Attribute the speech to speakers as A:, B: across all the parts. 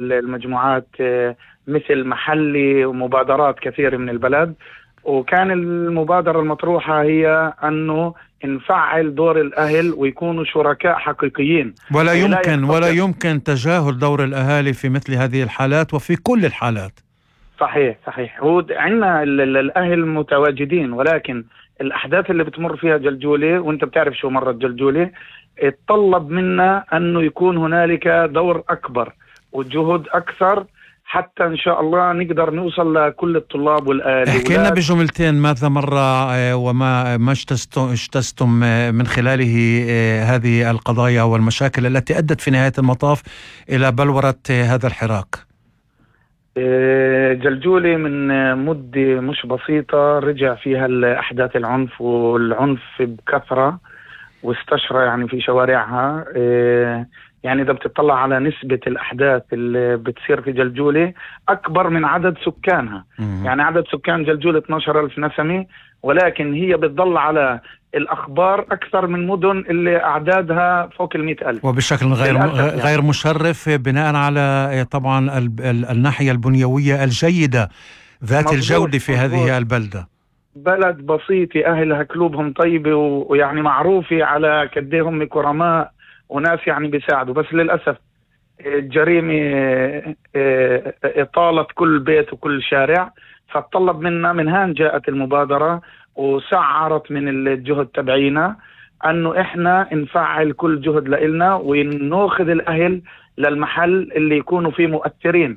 A: المجموعات مثل محلي ومبادرات كثيرة من البلد. وكان المبادرة المطروحة هي أنه نفعل دور الأهل ويكونوا شركاء حقيقيين.
B: ولا يمكن تجاهل دور الأهالي في مثل هذه الحالات وفي كل الحالات.
A: صحيح. هو عندنا الأهل متواجدين، ولكن الأحداث اللي بتمر فيها جلجولة، وانت بتعرف شو مرت جلجولة، اتطلب منا أنه يكون هنالك دور أكبر وجهود أكثر حتى إن شاء الله نقدر نوصل لكل الطلاب والأهالي.
B: احكي لنا بجملتين ماذا مر وما اجتزتم من خلاله هذه القضايا والمشاكل التي أدت في نهاية المطاف إلى بلورة هذا الحراك.
A: جلجولة من مدة مش بسيطة رجع فيها الأحداث العنف والعنف بكثرة واستشرى يعني في شوارعها. يعني إذا بتطلع على نسبة الأحداث اللي بتصير في جلجولة أكبر من عدد سكانها. يعني عدد سكان جلجولة 12,000 نسمة، ولكن هي بتضل على الأخبار أكثر من مدن اللي أعدادها فوق 100,000،
B: وبشكل غير مشرف بناء على طبعا الناحية البنيوية الجيدة ذات الجودة في هذه البلدة.
A: بلد بسيطة أهلها قلوبهم طيبة ويعني معروفة على كديهم كرماء وناس يعني بيساعدوا، بس للأسف الجريمة طالت كل بيت وكل شارع. فطلب منا من هان جاءت المبادرة وسعرت من الجهد تبعينا أنه إحنا نفعل كل جهد لإلنا ونأخذ الأهل للمحل اللي يكونوا فيه مؤثرين.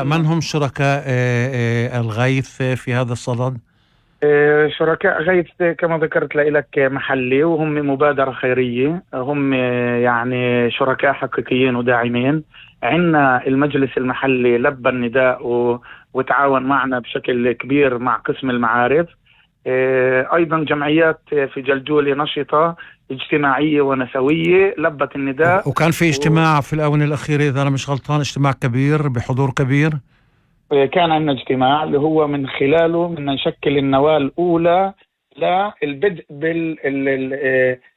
B: من هم شركاء الغيث في هذا الصدد؟
A: شركاء غيث كما ذكرت لك محلي، وهم مبادرة خيرية، هم يعني شركاء حقيقيين وداعمين. عندنا المجلس المحلي لبى النداء وتعاون معنا بشكل كبير مع قسم المعارف. أيضا جمعيات في جلجولة نشطة اجتماعية ونسوية لبت النداء.
B: وكان في اجتماع في الآونة الأخيرة إذا أنا مش غلطان، اجتماع كبير بحضور كبير.
A: كان عندنا اجتماع اللي هو من خلاله بدنا نشكل النواة الأولى للبدء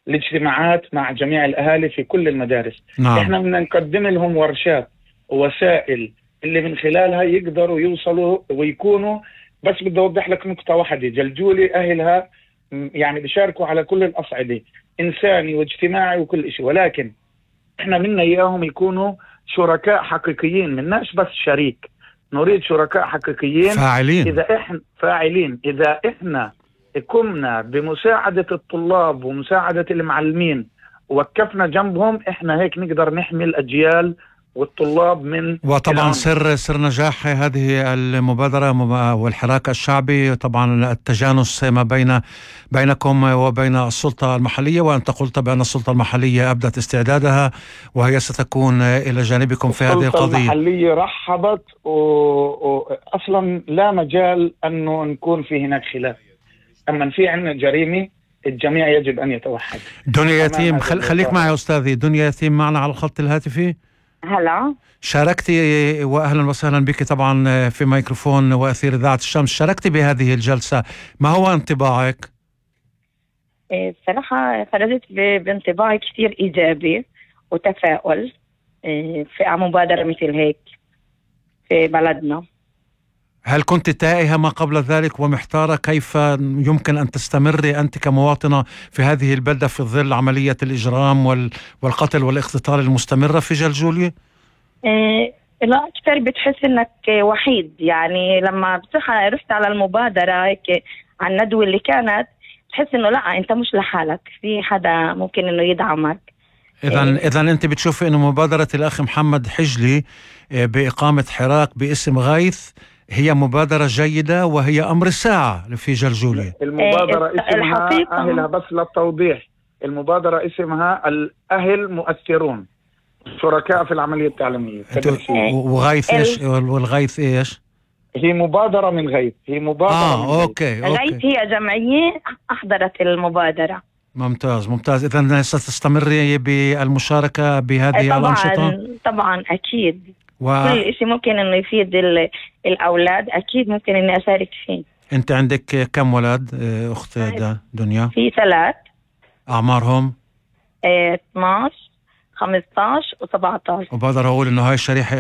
A: بالاجتماعات مع جميع الأهالي في كل المدارس.
B: نعم.
A: احنا بدنا نقدم لهم ورشات ووسائل اللي من خلالها يقدروا يوصلوا ويكونوا. بس بدي أوضح لك نقطة واحدة، جلجولة أهلها يعني بيشاركوا على كل الأصعدة، إنساني واجتماعي وكل شيء، ولكن احنا منا إياهم يكونوا شركاء حقيقيين، مناش بس شريك، نريد شركاء حقيقيين فاعلين. إذا إحنا قمنا بمساعدة الطلاب ومساعدة المعلمين ووقفنا جنبهم، إحنا هيك نقدر نحمي الأجيال والطلاب من.
B: وطبعا سر نجاح هذه المبادرة والحراك الشعبي طبعا التجانس ما بينكم وبين السلطة المحلية، وأنت قلت بأن السلطة المحلية أبدت استعدادها وهي ستكون إلى جانبكم في هذه القضية.
A: السلطة المحلية رحبت وأصلا لا مجال أنه نكون في هناك خلاف. أما في عندنا جريمة الجميع يجب أن يتوحد.
B: دنيا يتيم، خليك معي أستاذي. دنيا يتيم معنا على الخط الهاتفي.
C: هلا،
B: شاركتي وأهلا وسهلا بك طبعا في ميكروفون وأثير إذاعة الشمس. شاركتي بهذه الجلسة، ما هو انطباعك؟
C: صراحة خرجت بانطباع كثير إيجابي وتفاؤل في مبادرة مثل هيك في بلدنا.
B: هل كنت تائهة ما قبل ذلك ومحتارة كيف يمكن أن تستمري أنت كمواطنة في هذه البلدة في ظل عملية الإجرام والقتل والاختطال المستمرة في جلجولة؟
C: لا، أكثر بتحس إنك وحيد. يعني لما بصراحة رحت على المبادرة هيك على الندوة اللي كانت، تحس إنه لا، أنت مش لحالك، في حدا ممكن إنه يدعمك.
B: إذن أنت بتشوفي إنه مبادرة الأخ محمد حجلي بإقامة حراك باسم غيث هي مبادرة جيدة وهي أمر الساعة في جلجولة؟
A: المبادرة اسمها أهلها، بس للتوضيح، المبادرة اسمها الأهل مؤثرون، شركاء في العملية التعليمية.
B: وغيث إيش؟ والغيث إيش؟
A: هي مبادرة من غيث، هي مبادرة
B: أوكي.
C: غيث هي جمعية أحضرت المبادرة.
B: ممتاز. إذن ستستمري بالمشاركة بهذه الأنشطة؟
C: طبعا أكيد. كل شيء ممكن إنه يفيد الأولاد أكيد ممكن إني أشارك فيه.
B: أنت عندك كم ولد أخت دنيا؟
C: في 3.
B: أعمارهم؟
C: 12، 15 و17.
B: وبقدر أقول إنه هاي الشريحة